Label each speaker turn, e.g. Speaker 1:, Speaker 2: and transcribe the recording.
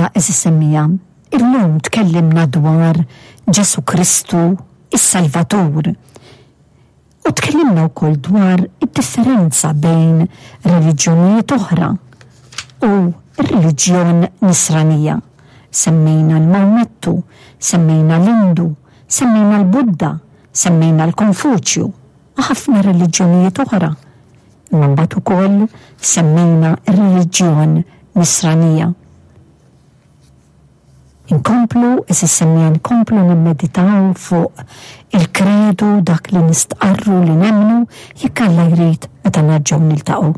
Speaker 1: Mela għeżież semmiegħa, illum tkellimna dwar Ġesù Kristu is-Salvatur. U tkellimna wkoll dwar id-differenza bejn reliġjonijiet oħra u r-reliġjon Nisranija. Semmejna l-Mawmettu, semmejna l-Indu, semmejna l-Budda, semmejna l-Konfuċju u ħafna reliġjonijiet oħra. Imma mbagħad ukoll semmejna r-reliġjon Nisranija. Inkomplu, għeżież semmiegħa, nkomplu nimmeditaw fuq il-kredu, dak li nistqarru li nemmnu, jekk Alla jrid meta nerġgħu niltaqgħu.